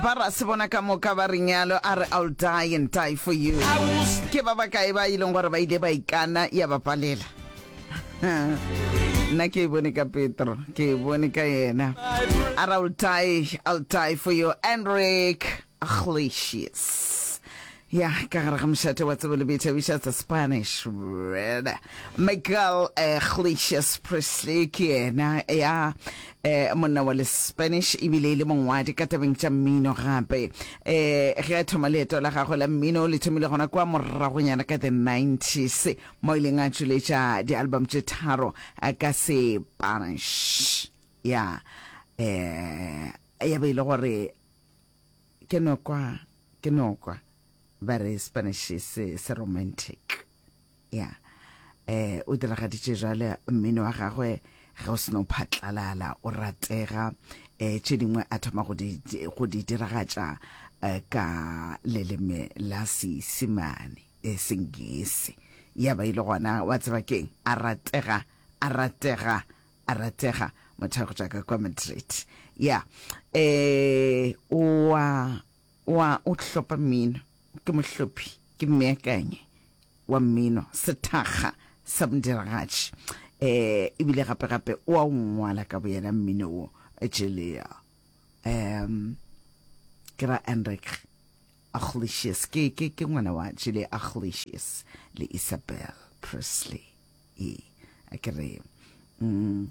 Ba ra se bona ka moka ba re nyalo a re I'll die and die for you. Ke ba bakae ba e leng gore ba ile ba ikana ya ba palela. Nna ke e bone ka Petro, ke e bone ka yena. A re I'll die, I'll die for you. Enrique Iglesias. Ya, ka gare ga mošate wa tsebo le boithabišo tsa Spanish Red. Miguel Iglesias Presley ke yena ya eh, monna wa le Spanish ebile e le mongwadi ka tabeng tša mmino gape. Eh, ge a thoma leeto la gagwe la mmino le thomile gona kwa moragonyana ka the 90s mo ileng a tšweletša di-album tše tharo eh, ka Sepanish. Ya, eh, ya be e le gore Ke no kwa, ke no kwa ba re Spanish se, se romantic. Ya. Eh, o diragaditše jwale mmino wa gagwe ge o seno phatlalala, o ratega. Eh, tše dingwe a thoma go di, go di diragatša eh, ka leleme la Seisemane, eh, Sengese. Ya ba e le gona, wa tseba keng, a ratega, a ratega A ratega, motho wa go tšwa ka kwa Madrid. Ya. Eh, o a, o a, o hlopa mmino. Ke mohlophi, ke mmeakanyi wa mmino, sethakga sa modiragatši. Eh, ebile gape gape o a o ngwala ka boyena mmino wo, Julia. Um, ke ra Enrique Iglesias, ke, ke, ke ngwana wa Julia Iglesias le Isabel Presley. Ee, a ke re mm,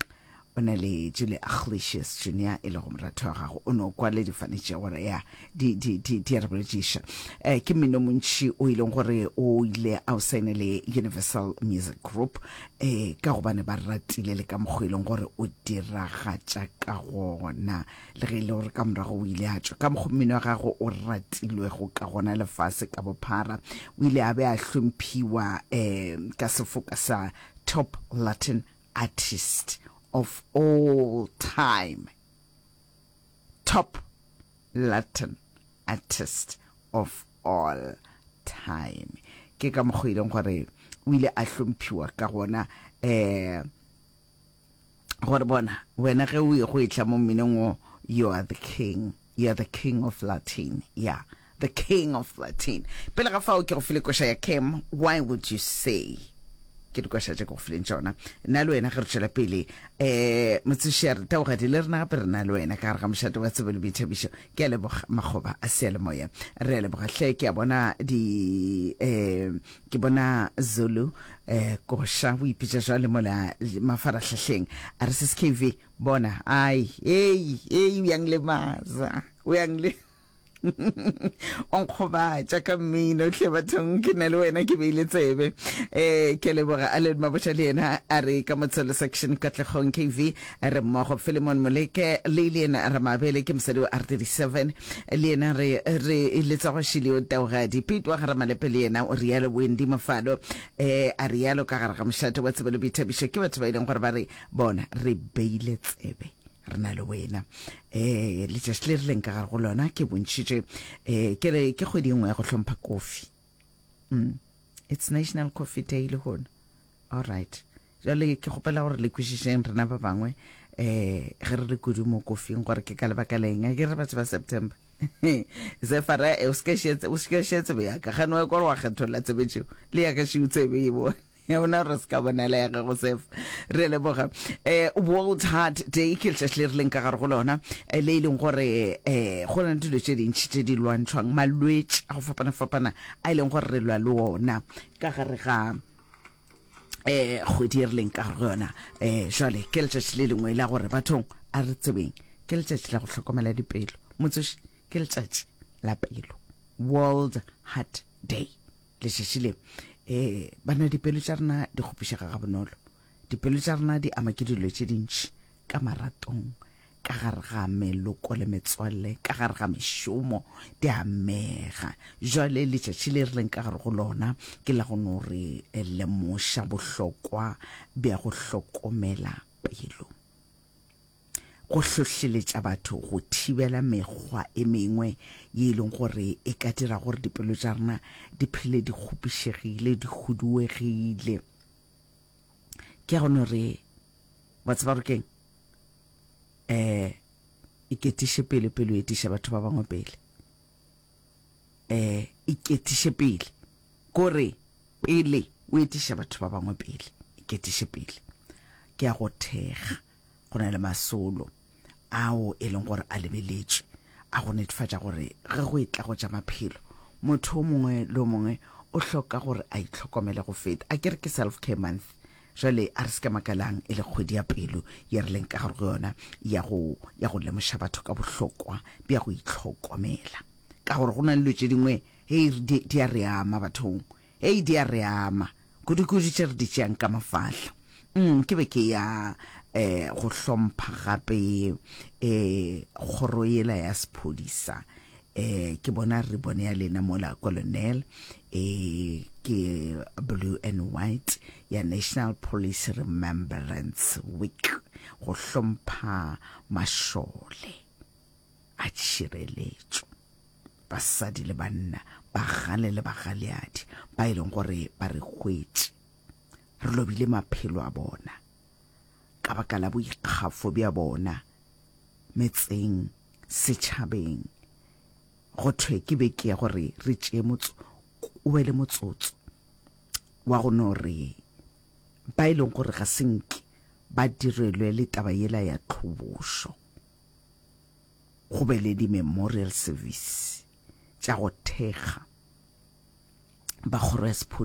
o na le Julia Iglesias Junior e lego moratho wa gago o no kwa le difane tše gore ya di di di di a re bolediša. Eh, ke mmino montši o e leng gore o ile a o saene le Universal Music Group eh, ka gobane ba ratile le ka mokgwa e leng gore o diragatša ka gona le ge e le gore ka morago o ile a tšwa ka mokgwa mmino wa gagwe o ratilwego ka gona lefase ka bophara. O ile a be a hlomphiwa um ka sefoka sa Top Latin Artist of All Time. Top Latin Artist of All Time. Ke ka mokgwa e leng gore o ile a hlomphiwa ka gona um gore bona wena ge o ye go etla mo mminong wo, you are the king, you are the king of Latin, yeah, the king of Latin. Pele ga fao ke go file koša ya Cam, why would you say? Ke dikoša tše ke go fileng tšona. Nna le wena ge re tšwela pele, eh, motsoši a re taogadi le rena gape re na le wena ka gare ga mošate wa tsebo le boithabišo. Ke a leboga makgoba a seyalemoya. Re a leboga hle, ke a bona di, eh, Ke bona Zulu eh, koša o ipitša jwale mola mafarahlahleng. A re sis KV, bona, ai, ei, ei, uyanglemaza, uyangle o nkgobatša ka mmino hle bathong ke na le wena ke beile tsebe eh ke leboga Allen Mabotja le yena a re ka motshelo section Katlegong KV re mmogo Philemon Moleke le le yena Ramabele ke mosadi wa R37 Le yena re, re letsa go Shileo Taugadi. Pete wa ga Ramalepe le yena o realo. Wendy Mofalo eh, a realo ka gare ga mošate wa tsebo le boithabišo. Ke batho ba e leng gore ba re, bona, re beile tsebe, re na le wena. Eh, letšatši le re leng ka gare go lona ke bontšhitše, eh, ke re ke kgwedi e nngwe ya go hlompha kofi. Mm. It's National Coffee Day lehono. All right. Jwale ke kgopela gore le kwešišeng rena ba bangwe um ge re le kudu mo kofing gore ke ka lebaka leng. A ke re batho ba September. Zefara eh, o se ka šia tsebe ya ka. Gane wa kwa wa kgetholla tsebe tšeo. Le ya ka šiu tsebe e bone. Ya bona gore se ka bonela ya gago Zef. Re a leboga. Eh, World Heart Day ke letšatši le re leng ka gare go lona eh, le e leng gore eh, go na le dilo tše dintši tše di lwantšhwang, malwetši a go fapana-fapana a e leng gore re lwa le ona ka gare ga eh kgwedi e re leng ka go yona. Eh jwale ke letšatši le lengwe la gore bathong a re tsebeng ke letšatši la go hlokomela dipelo. Motsoši ke letšatši la pelo, World Heart Day. Letšatši le eh bana dipelo tša rena di kgopišega ga bonolo. Dipelo tša rena di ama ke dilo tše dintši ka maratong, ka gare ga meloko le metswalle, ka gare ga mešomo, di amega. Jwale letšatši le re leng ka gare go lona ke la go no re lemoša bohlokwa bja go hlokomela pelo, go hlohleletša batho go thibela mekgwa e mengwe ye e leng gore e ka dira gore dipelo tša rena di phele di kgopišegile, di huduegile. Ke ya go no re, wa tseba gore ke'ng? Eh, Iketiše pele pele o etiša batho ba bangwe pele. Eh, iketiše pele. Kore pele o etiša batho ba bangwe pele, iketiše pele. Ke a go thekga. Go na le masolo ao e leng gore a lebeletšwe a go netefatša gore ge go etla go tša maphelo, motho o mongwe le o mongwe o hloka gore a itlhokomele go feta. A ke re ke Self Care Month, jwale a re se ke makalang e le kgwedi ya pelo ye re leng ka gare go yona ya go ya go lemoša batho ka bohlokwa bja go itlhokomela, ka gore go na le dilo tše dingwe hei di, di a re ama bathong. Hei, di a re ama, kudu-kudu tše re di tšeang ka mafahla. Mm, ke be ke ya eh, go hlompha gape eh, kgoro yela ya sephodisa. Eh, ke bona ribbon ya lena mola Colonel, eh, ke blue and white ya National Police Remembrance Week, go hlompha mašole a tšhireletšo. Basadi le banna, bagale le bagaleadi, ba e leng gore ba re hwetše, re lobile maphelo a bona ka baka la boikgafo bja bona metseng, setšhabeng. Go thwe ke beke ya gore re tšee motso, o be le motsotso wa go no re ba e leng gore ga se nke ba direlwe le taba yela ya tlhobošo. Go be le di-memorial service tša go thekga ba kgoro ya sephodisa.